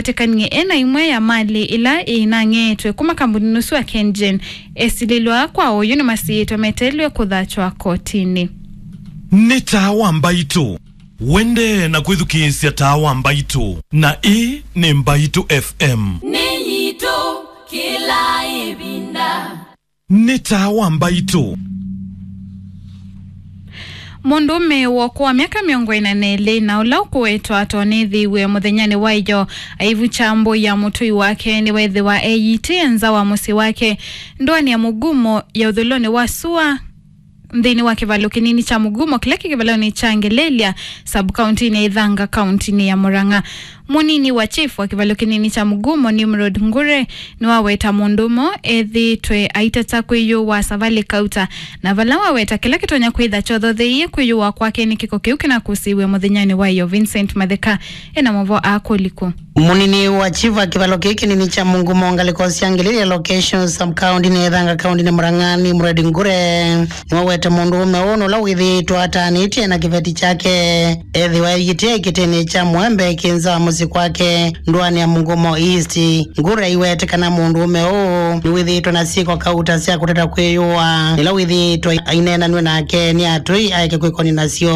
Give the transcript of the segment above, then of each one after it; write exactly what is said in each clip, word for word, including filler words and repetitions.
Vatikanie ena imwe ya malĩ ila ĩinang'eetwe kuma kambuninĩ ũsu wa KenGen. Esilĩlwa kwa oyu nĩmasiĩtwe meteelwe kũthatwa kotinĩ. Nĩ taa wa Mbaitũ. Wendee na kwĩthukĩĩsya taa wa Mbaitũ, na ĩĩ nĩ Mbaitũ F M. Nĩ yitũ kĩla ĩvinda. Nĩ taa wa Mbaitũ. Mũndũũme w'oko wa myaka mĩongo ĩna na ĩlĩ na ũla ũkũwetwa atonethiw'e mũthenyanĩ wa ĩyo aivukya mbũi ya mũtũi wake nĩweethĩwa eyĩtĩe nza wa mũsyĩ wake ndũanĩ ya Mũgumo ya ũthũĩlonĩ wa sua nthĩnĩ wa kĩvalo kĩnini kya Mũgumo kĩla kĩ kĩvalonĩ kya Ngelelia, sub-kauntinĩ ya Ithanga, kauntinĩ ya Murang'a. Mũnini wa chief wa kĩvalo kĩnini kya Mũgumo, Nimrod Ngure, nĩwaweta mũndũũme ethĩĩtwe aitata kwĩyũwa Savali Kauta, na vala waweta kĩla kĩtonya kwĩtha kyothotheie kwĩyũwa kwake nĩ kĩko kĩu kĩnakũsĩĩw'e mũthenyanĩ wa ĩyo. Vincent Matheka ena maũvoo aa kũlikũ. Mũnini wa chief wa kĩvalo kĩĩ kĩnini kya Mũgumo ngalĩko sya Ngelelia location sub-kauntinĩ ya Ithanga kauntinĩ Murang'a, Nimrod Ngure, nĩwawete mũndũũme ũũ nũla wĩthĩĩtwe ataanĩtye na kĩveti kyake ethĩwa eyĩtĩe kĩtĩnĩ kya mũembe kĩ nza wa mũsyĩ kwake ndũanĩ ya Mũgumo East. Ngure aiwete kana mũndũũme ũũ nĩwĩthĩĩtwe na syĩko kauta sya kũtata kwĩyũa, ĩla wĩthĩĩtwe aineenanw'e nake nĩ atũi aeke kwĩkoni nasyo.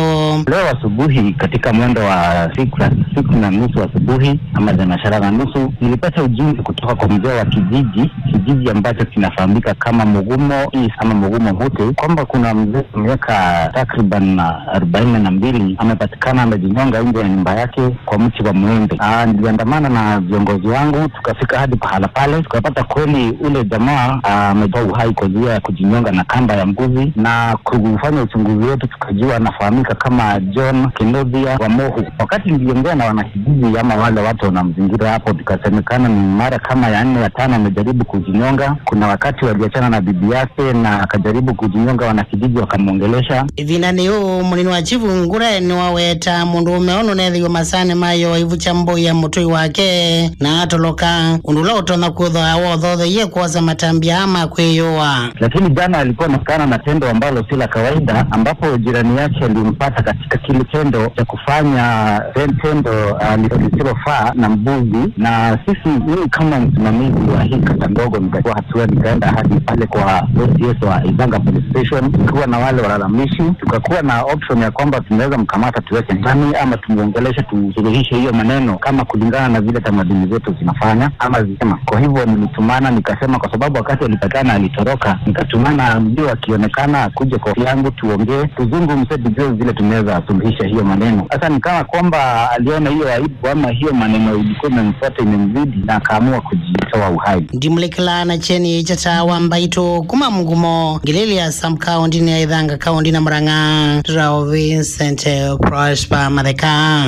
Leo asubuhi katika mwendo wa siku, siku na nusu asubuhi ama thenashara na nusu, nilipata ujumbe kutoka kwa mzee wa kijiji, kijiji ambacho kinafahamika kama Mugumo East ama Mugumo Mute, kwamba kuna mzee wa miaka takriban arobaini na mbili amepatikana amejinyonga nje ya nyumba yake kwa mti wa mwembe. Ah, niliandamana na viongozi wangu, tukafika hadi pahala pale, tukapata kweli ule jamaa, ah, ametoa uhai kwa njia ya kujinyonga na kamba ya mbuzi, na kufanya uchunguzi wetu tukajua anafahamika kama John Kinothia wa Mohu. Wakati niliongea na wanakijiji ama wale watu wanamzingira hapo, tukasemekana ni mara kama ya nne ya tano amejaribu kujinyonga. Kuna wakati waliachana na bibi yake na akajaribu kujinyonga, wanakijiji wakamwongelesha. Ĩvindanĩ yĩu, mũnini wa chifu Ngure nĩwaweta mũndũũme ũũ nũnethĩiwe masaanĩ ma ĩyo aivukya mbũi ya mũtũi wake na atoloka, ũndũ ũla ũtonya kwĩthwa wothotheie kwosa matambya ma kwĩyũa. Lakini jana alikuwa anaonekana na tendo ambalo si la kawaida, ambapo jirani yake alimpata katika kile tendo cha kufanya tendo, ah, lisilofaa na mbuzi. Na sisi, mimi kama msimamizi wa hii kata ndogo, nikachukua hatua, nikaenda hadi pale kwa O C S wa Ithanga Police Station, tukiwa na wale walalamishi, tukakuwa na option ya kwamba tunaweza mkamata tuweke ndani ama tumuongeleshe, tusuluhishe hiyo maneno kama kulingana na vile tamaduni zetu zinafanya ama zinasema. Kwa hivyo nilitumana, nikasema, kwa sababu wakati alipatikana alitoroka, nikatumana mbio akionekana akuje kwa ofisi yangu tuongee, tuzungumze, tujue vile tunaweza suluhisha hiyo maneno. Sasa ni kama kwamba aliona hiyo aibu ama hiyo maneno ilikuwa imemfuata imemzidi na akaamua kujitoa uhai. Ndimulekela na kyeni kya taa wa Mbaitũ kuma Mũgumo, Ngelelia sub-kauntinĩ ya Ithanga, kauntinĩ ya Murang'a, Rao Vincent Prosper Matheka.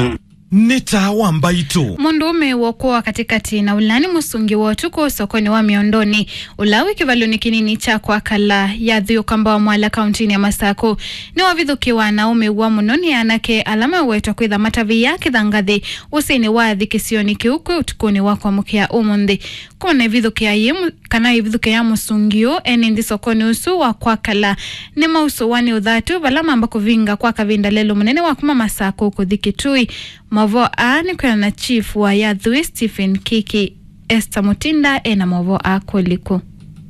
Nĩ taa wa Mbaitũ. Mũndũũme w'oko wa katĩkatĩ na ũla nĩ mũsungi wa ũtukũ sokonĩ wa Mĩondonĩ, ũla wĩ kĩvalonĩ kĩnini kya Kwakala, Yathwĩ, ũkamba wa Mwala, kauntinĩ ya Masakũ, nĩwavithũkĩwa na ũmĩw'a mũno nĩ anake ala mewetwa kwĩtha matavĩĩa kĩthangathĩ ũsĩnĩ wa athi kĩsionĩ kĩu kwĩ ũtukũnĩ wa kwamũkĩa ũmũnthĩ. Kuma na ĩvithũkĩa yĩ mũ-, kana ĩvithũkĩa ya mũsungi ũũ, ene nthĩ sokonĩ ũsu wa Kwakala nĩmausũwa nĩ ũthatu vala mamba kũvinga kwa kavinda lelũ mũnene wa kuma Masakũ kũthi Kitui. Maũvoo aa nĩ kwĩana na chief wa Yathwĩ, Stephen Kiki. Esther Mutinda ena maũvoo aa kũlikũ.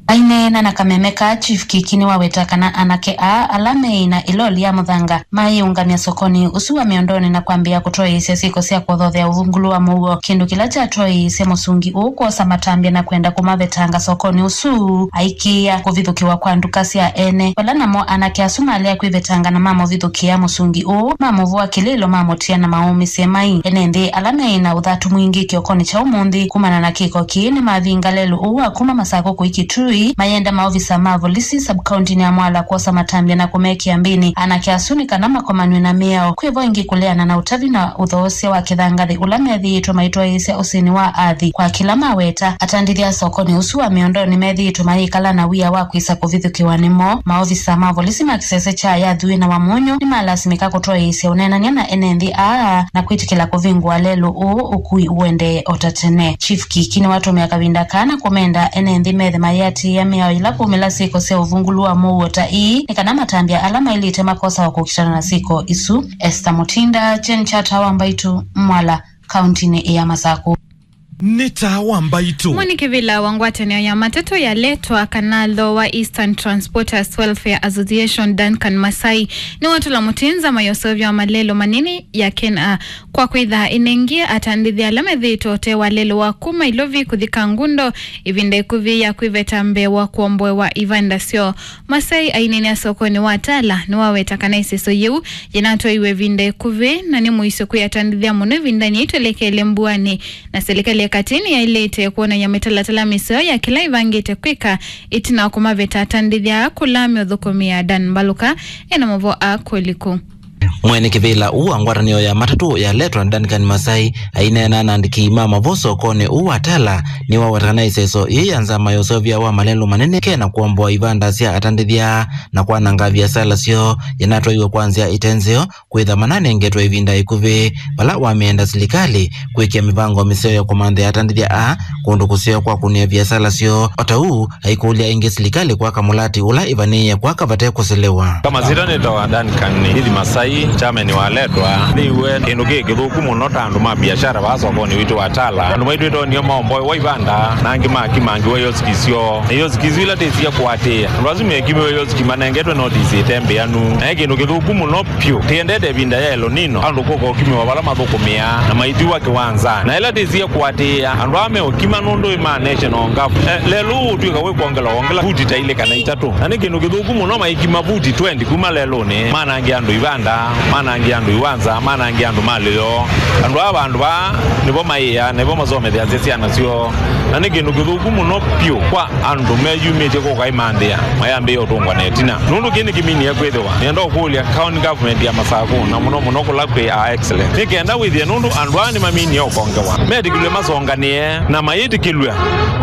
Aineena na kameme kaa, Chief Kiki nĩwaweta kana anake aa ala meĩ na ĩloli ya mũthanga mayĩũngamya sokonĩ ũsu wa Mĩondonĩ na kwambĩĩa kũtwaĩĩsya syĩko sya kũthothea ũvungũlu wa mũuo, kĩndũ kĩla kyatwaĩĩsye mũsungi ũũ kwosa matambya na kwenda kũmavetanga sokonĩ ũsu, aikĩĩa kũvithũkĩwa kwa nduka sya ene. Vala namo anake asu malea kwĩvetanga na mamũvithũkĩa mũsungi ũũ, mamũvũa kĩlĩlo, mamũtia na maũmĩsye mai. Ene nthĩ ala meĩ na ũthatu mwingĩ kĩokonĩ kya ũmũnthĩ kumana na kĩko kĩĩ nĩmavinga lelũ ũũ wa kuma Masakũ kũi Kitui, mayenda maovisa ma volisi sub-kauntinĩ ya Mwala kwosa matambya na kũmekĩa mbĩnĩ anake asu nĩ kana makomanw'e na mĩao. Kwĩvo ĩngĩ kũleana na ũtavi na ũthoosya wa kĩthangathĩ ũla methĩĩtwe maitwaĩĩsya ũsĩnĩ wa athi. Kwa kĩla maweta, atandĩthya sokonĩ ũsu wa Mĩondonĩ methĩĩtwe mayĩkala na wia wa kwĩsa kũvithũkĩwa nĩmo. Maovisa ma volisi ma kĩsese kya Yathwĩ na Wamunyu nĩmalasimĩka kũtwaĩĩsya ũneenany'a na ene nthĩ aa na kwĩtĩkĩla kũvingũa lelũ ũũ ũkui ũendee o ta tene. Chief Kiki nĩwatũmĩa kavinda kaa na kũmenda ene nthĩ methe mayĩatĩĩa mĩao yĩla kwaumĩla syĩko sya ũvungũlu wa mũuo ta ii, nĩ kana matambya ala maĩlĩte makosawa kũkitana na syĩko isu. Esther Mutinda, Kyeni kya Taa wa Mbaitũ, Mwala, kauntinĩ ya Masakũ. Nĩ taa wa mbaitũ. Mwene kĩvĩla wa ngwatanĩo ya matatũ ya Letwa kana Lower Eastern Transporters Welfare Association, Duncan Masai, nĩwatũla mũtĩ nzama ya ũseũvya wa malelũ manene ya Kenya kwa kwĩtha ĩnengie atandĩthya ala methĩĩtwe ũtee wa lelũ wa kuma Ilovi kũthi Kangundo ĩvinda ĩkuvĩ ya kwĩveta mbee wa kũomboewa ivanda syoo. Masai aineenea sokonĩ wa Tala nĩwaweta kana ĩseso yĩu yĩnatwaiwe ĩvinda ĩkuvĩ na nĩ mũisyo kwĩ atandĩthya mũno ĩvindanĩ yĩtwelekeele mbuanĩ, na silikalĩ ya katĩ nĩyaĩlĩte kwonany'a mĩtalatala mĩseo ya kĩla ĩvangĩte kwĩka ĩtina wa kũmaveta atandĩthya aa kũla meũthũkũmĩa. Dan Mbaluka ena maũvoo aa kũliku. Mwene kĩvĩla ũũ wa ngwatanĩo ya matatũ ya Letwa, Duncan Masai, aineena na andĩki ma maũvoo sokonĩ ũũ wa Tala, nĩwaweta kana ĩseso yĩĩ ya nzama ya ũseũvya wa malelũ manene kena kũomboa ivanda sya atandĩthya na kwananga viasala syoo yĩnatwaiwe kwa nzĩa ĩte nzeo, kwĩtha mananengetwe ĩvinda ĩkuvĩ vala wamĩenda silikalĩ kwĩkĩa mĩvango mĩseo ya kũmanthĩa atandĩthya aa kũndũ kũseo kwa kũnĩa viasala syoo. O ta ũu, aikũlya ĩngĩ silikalĩ kwaka mũlati ũla ĩvanĩĩe kwaka vate kũselewa. Kama sita nĩtawa Duncan Nithi Masai, chairman wa Letwa. Nĩw'e kĩndũ kĩ kĩthũku mũno ta andũ ma biashara vaa sokonĩ witũ wa Tala. Andũ maitũ ĩtonio maomboewa ivanda, na angĩ makimangiwa ioski syoo. Na ioski isu ila tĩsie kũatĩĩa. Andũ asu mekimiwe ioski manengetwe notisi ĩte mbĩanu. Na ĩ kĩndũ kĩthũku mũno vyũ. Tĩendete ĩvinda ya El Nino, andũ kũka ũkimiwa vala mathũkũmĩaa, na maithiwa kĩwanzanĩ. Na ĩla tĩsie kũatĩĩa, andũ aa meũkima nũndũ ĩ ma national gov. Eh, lelũ ũũ ũtw'ĩka wĩ kwongela wongela vuti ta ilĩ kana itatũ. Na nĩ kĩndũ kĩthũku mũno maikima vuti twenty kuma lelũnĩ, manangia andũ ivanda, manangia andũ iwanza, manangia andũ malĩ yoo. Andũ aa vandũ vaa nĩvo maĩaa, nĩvo masomethasya syana syoo. Na nĩ kĩndũ kĩthũku mũno vyũ kwa andũ meyumĩtye kũka imanthĩa, mayambĩĩa ũtũngwa na ĩtina. Nũndũ kĩĩ nĩkĩminie kwĩthĩwa, nĩenda ũkũlya county government ya Masakũ, na mũno mũno kũla kwĩ Our Excellence, nĩ kenda wĩthĩe nũndũ andũ aa nĩmaminie ũkongewa. Metĩkĩlw'e masonganĩe, na mayĩtĩkĩlw'a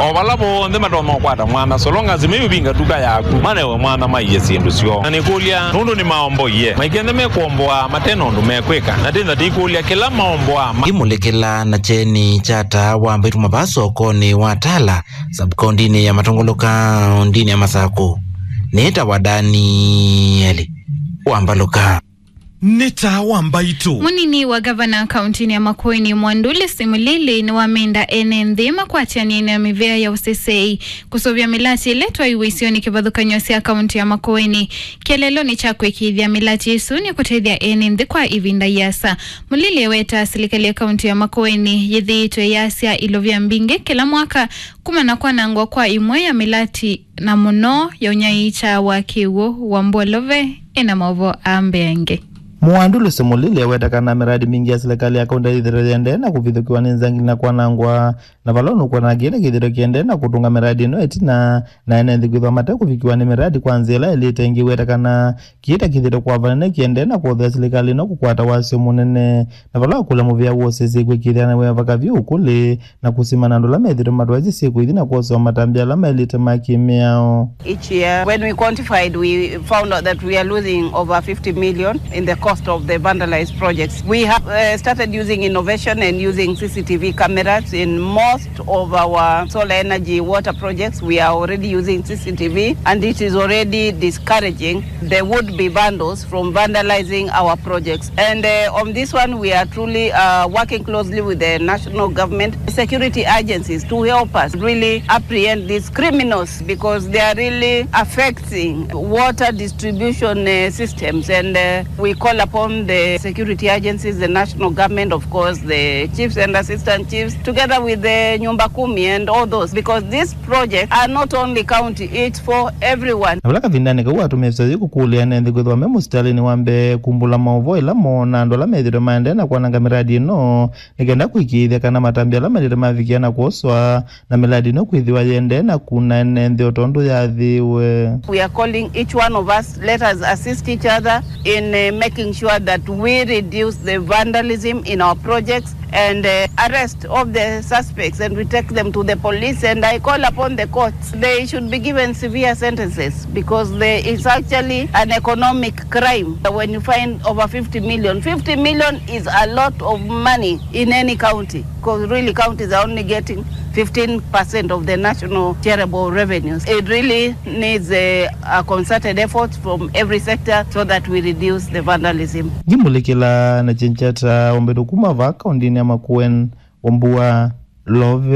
o vala vonthe matonya ũkwata mwanya, so long as meũvinga tuka yaku, manewe mwanya maiye syĩndũ syoo. Na nĩkũlya, nũndũ nĩmaomboie, maikenthe mekũomboa mate na ũndũ mekwĩka, na tĩna tĩikũlya kĩla maomboa ma- Imũlĩkĩla na kyeni kya taa wa mbaitũ mavaa sokonĩ wa Tala, sub-kaũntĩnĩ ya Matũngũlũ, kaũntĩnĩ ya Masakũ. Nĩtawa Danieli Wambaluka. Nĩ taa wa mbaitũ. Mũnini wa gavana kaũntĩnĩ ya Makueni, Mwanduli Simulili, nĩwamenda ene nthĩ makwatĩanĩe na mĩvĩa ya ũsesei kũsũvĩa mĩlati ĩla ĩtwaiwe isionĩ kĩvathũkany'o sya kaũntĩ ya Makueni. Kĩeleelonĩ kya kũĩkĩĩthya mĩlati ĩsu nĩ kũtethya ene nthĩ kwa ĩvinda yĩasa. Mulili eweta silikalĩ ya kaũntĩ ya Makueni yĩthĩĩtwe yasya ilovia mbingĩ kĩla mwaka kumana na kwanangwa kwa imwe ya mĩlati na mũno ya ũnyaĩĩkya wa kĩw'ũ wa Mbolove ena maũvoo aa mbeange. Mwanduli Simulili eweta kana mĩradi mingĩ ya silikalĩ ya kaũntĩ yĩthĩĩtwe yĩendee na kũvithũkĩwa nĩ nzangili na kwanangwa, na vala ũnũkwona kĩĩ ta kĩthĩĩtwe kĩendee na kũtũnga mĩradi ĩno ĩtina, na ene nthĩ kwĩthwa mate kũvikĩwa nĩ mĩradi kwa nzĩa ĩla yaĩlĩte. Ĩngĩ weta kana kĩĩ ta kĩthĩĩtwe kwa vanene kĩendee na kũthea silikalĩ ĩno kũkwata wasyo mũnene, na vala wakũlya mũvĩa wa ũsesei kwĩkĩĩthya na wĩa vaka vyũ ũkũlĩ, na kũsimana na andũ ala methĩĩtwe matwaĩsye syĩko ithi na kwosewa matambya ala maĩlĩte ma kĩ-mĩao. Each year, when we quantified, we found out that we are losing over fifty million in the cost of the vandalized projects. We have, uh, started using innovation and using C C T V cameras in most of our solar energy water projects. We are already using C C T V, and it is already discouraging the would-be vandals from vandalizing our projects. And, uh, on this one, we are truly, uh, working closely with the national government security agencies to help us really apprehend these criminals, because they are really affecting water distribution, uh, systems. And, uh, we call upon the security agencies, the national government, of course, the chiefs and assistant chiefs, together with the Nyumba Kumi and all those, because these projects are not only county, it's for everyone. Na vala kavindanĩ kau atũmĩe visa yĩu kũkũlya ene nthĩ kwĩthĩwa me mũsitalĩnĩ wa mbee kumbũla maũvoo ĩla moona andũ ala methĩĩtwe maendee na kwananga mĩradi ĩno, nĩ kenda kũĩkĩĩthya kana matambya ala maĩlĩte mavikĩa na kwoswa, na mĩradi ĩno kwĩthĩwa yĩendee na kuna ene nthĩ o tondũ yathĩĩwe. We are calling each one of us, let us assist each other in, uh, making sure that we reduce the vandalism in our projects and, uh, arrest of the suspects, and we take them to the police, and I call upon the courts, they should be given severe sentences, because there is actually an economic crime when you find over fifty million. Fifty million is a lot of money in any county, because really counties are only getting fifteen percent of the national shareable revenues. It really needs a, a concerted effort from every sector so that we reduce the vandalism. Ngimũlĩkĩla na kyengyata ombetũ kuma vaa kaũntĩnĩ ya Makueni, Wambua love